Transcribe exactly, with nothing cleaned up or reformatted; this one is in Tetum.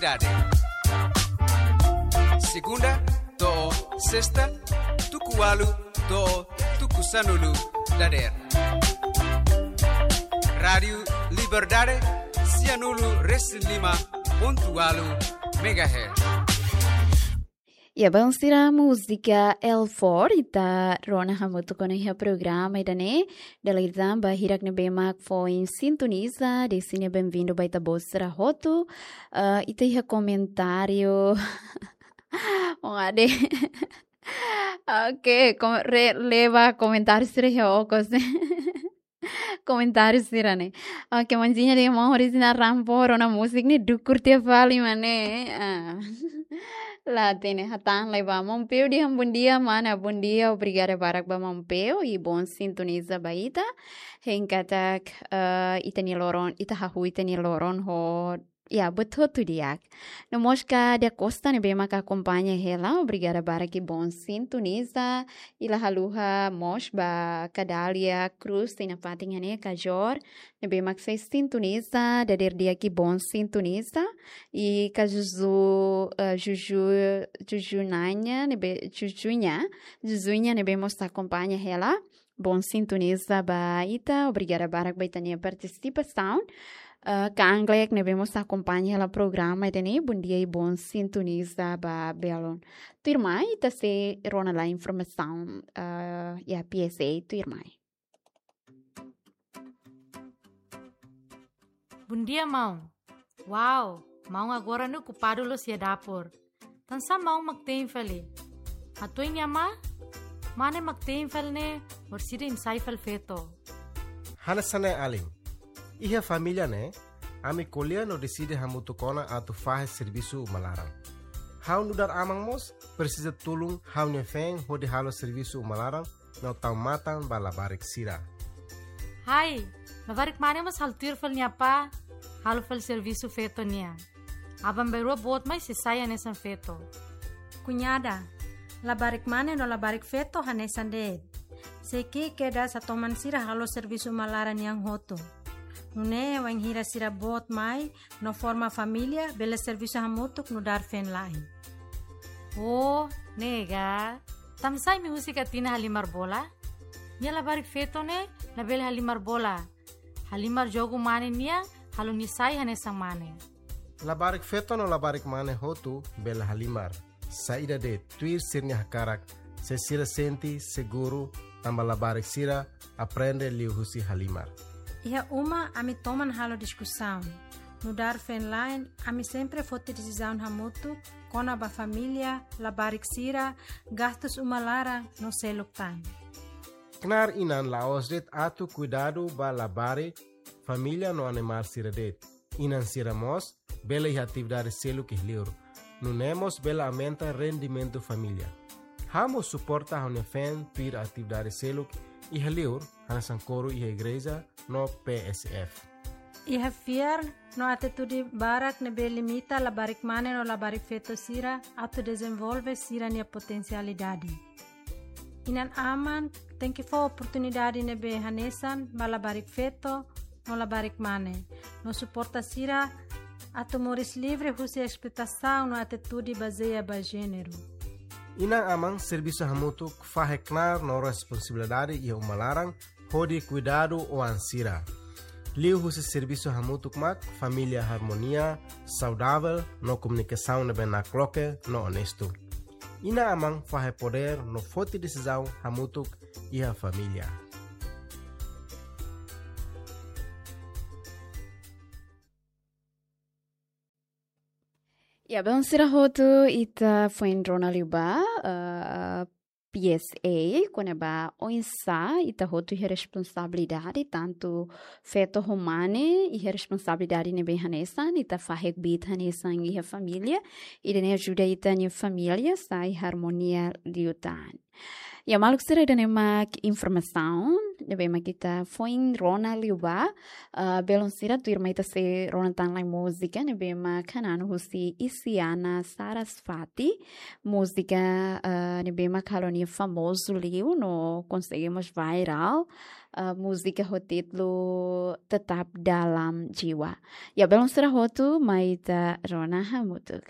Dade. Segunda to'o sesta, tuku ualu to'o tuku sanulu dadeer. Rádiu Liberdade, sianulu resin lima pontu ualu megahertz. Ya, bainhira múzika El Four, ita rona hamutuk ona iha programa ida-ne'e. Dala ida tan ba hirak ne'ebé mak foin sintoniza, desimu benvindu ba ita-boot sira hotu. Eh, ita iha komentáriu. Oh, ade. Oke, kom-, re-, lee ba komentáriu sira iha okos. Komentáriu sira-ne'e. Oke, manjiña de mo original rampo, rona múzika ne'e dukur tiha fali mak ne'e. Ah. La hatene, hatán lai ba. Maun Peu dehan bondia, mana, bondia, obrigada barak ba Maun Peu, i bom sintoniza ba ita. Hein katak, eh, ita-nia loron, ita hahú ita-nia loron ho, ya, buat hotu di'ak. No mós Kadia Costa ne'ebé mak akompaña hela, obrigada barak i bom sintoniza. I la haluha mós ba Kadalia Cruz, iha fatin iha-ne'e, Kajor, ne'ebé mak sei sintoniza, dadeer di'ak i bom sintoniza. I ka Juju, eh, Juju, Juju Nanya, ne'ebé, Jujuña, Jujuña, ne'ebé mós akompaña hela. Bom sintoniza ba ita, obrigada barak ba ita-nia partisipasaun. Eh, ka Anglek ne'ebé mós akompaña hela programa ida-ne'e, bondia i bom sintoniza ba belun. Tuirmai, ita sei rona lai informasaun, eh, iha P S A, tuirmai. Bondia, maun. Wow, maun agora ne'e okupadu loos iha dapur. Tansá maun mak te'in fali? Hato'o nia amá, mane mak te'in fali ne'e, orsida imi sai fali feto. Hanesan ne'e alin. Iha família ne'e, ami ko'alia no deside hamutuk ona atu fahe servisu uma laran. Ha'u nu'udar aman mós, presiza tulun ha'u-nia feen hodi halo servisu uma laran, no tau matan ba labarik sira. Hai, labarik mane mós halo tuir fali nia apá, halo fali servisu feto nian. Aban-bainrua boot mai sei sai hanesan feto. Kuñada, labarik mane no labarik feto hanesan de'it. Sei ki'ik kedas hatoman sira halo servisu uma laran nian hotu. Nune'e wainhira sira boot mai, no forma família, bele servisu hamutuk nu'udar feen-la'en. Oh, ne'e ka. Tansá imi husik Katina halimar bola? Nia labarik feto ne'e, labele halimar bola. Halimar jogu mane nian, halo nia sai hanesan mane. Labarik feto no labarik mane hotu bele halimar. Saida de'it, tuir sira-nia hakarak, se sira sente seguru, tanba labarik sira aprende liuhusi halimar. Iha uma ami toman halo diskusaun. Nu'udar feen-la'en, ami sempre foti desizaun hamutuk kona-ba família, labarik sira, gastus uma laran no seluk tan. Knaar inan la'ós de'it atu kuidadu ba labarik, família no animál sira de'it. Inan sira mós bele iha atividade seluk iha li'ur. Nune'e mós bele aumenta rendimentu família. Ha'u mós suporta ha'u-nia feen tuir atividade seluk iha li'ur, hanesan koru iha igreja no P S F. Iha fiar no atitude barak ne'ebé limita labarik mane no labarik feto sira atu dezenvolve sira-nia potensialidade. Inan-aman tenke fó oportunidade ne'ebé hanesan ba labarik feto no labarik mane, no suporta sira atu moris livre husi esploitasaun no atitude bazeia ba jéneru. Inan-aman servisu hamutuk fahe knaar no responsabilidade iha uma laran hodi kuidadu oan sira. Liuhusi servisu hamutuk mak família harmonia, saudavel no komunikasaun ne'ebé nakloke no onestu. Inan-aman fahe podér no foti desizaun hamutuk iha família. Ya, belun sira hotu, ita foin rona liu ba, eh, P S A, kona-ba oinsá ita hotu iha responsabilidade, tantu feto ho mane iha responsabilidade ne'ebé hanesan, ita fahe kbiit hanesan iha família, ida-ne'e ajuda ita-nia família sai harmonia liután. Ya, maluk sira, ida-ne'e mak informasaun ne'ebé mak ita foin rona liu ba. Ah, belun sira, tuirmai ita sei rona tan lai múzika ne'ebé mak hananu husi Isyana Sarasvati. Múzika, ah, ne'ebé mak halo nia famozu liu no konsege mós viral. Ah, múzika ho títulu Tetap Dalam Jiwa. Ya, belun sira hotu, mai ita rona hamutuk.